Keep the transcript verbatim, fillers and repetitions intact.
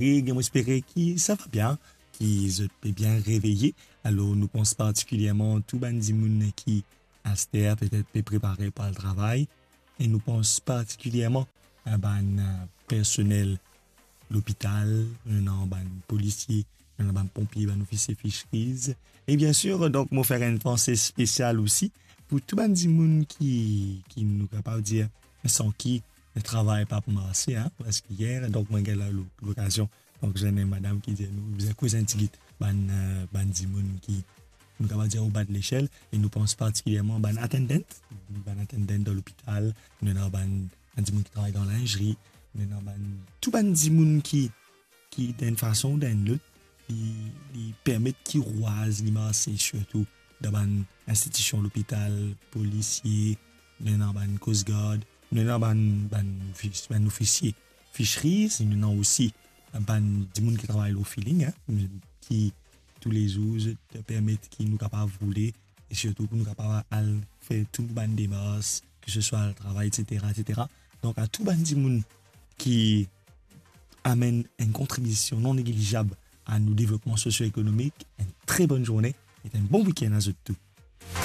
Rodrig, mo espere ki sa va bien, ki zot pe bien reveye. Alor, nou pans partikilierman tou bann dimoun ki aster petet pe prepare pou al travay, e nou pans partikilierman a bann, eh, personel lopital, nou ena bann polisie, nou ena bann ponpie, bann ofisie fisheries. E bien sir, donk, mo fer enn panse spesial osi pou tou bann dimoun ki, ki nou kapav dir, san ki travay pa pou marse, hein, preske yer. Donk, mo gagn la lo-, lokazion. Donk, zwenn enn madam ki dir nou, bizin koz enn tigit bann, eh, bann dimoun ki, nou kapav dir, o ba de lesel, e nou pans partikilierman bann attendant, bann attendant dan lopital, nou ena bann, bann dimoun ki travay dan linzri, nou ena bann, tou bann dimoun ki, ki, dan enn fason ou dan enn lot, li, li permet ki rwaz li marse, sirtou dan bann institision lopital, polisie, nou ena bann Coast Guard, nou ena bann, bann ofis-, bann ofisie fisheries, nou ena osi bann dimoun ki travay lor filling, hein, ki toulezour zot permet ki nou kapav roule, e sirtou pou nou kapav al fer tou bann demars, ke se swa al travay, et cetera, et cetera. Donk, a tou bann dimoun ki amenn enn kontribision non neglijab a nou devlopman sosio-ekonomik, enn tre bonn zourne e enn bon wikenn a zot tou.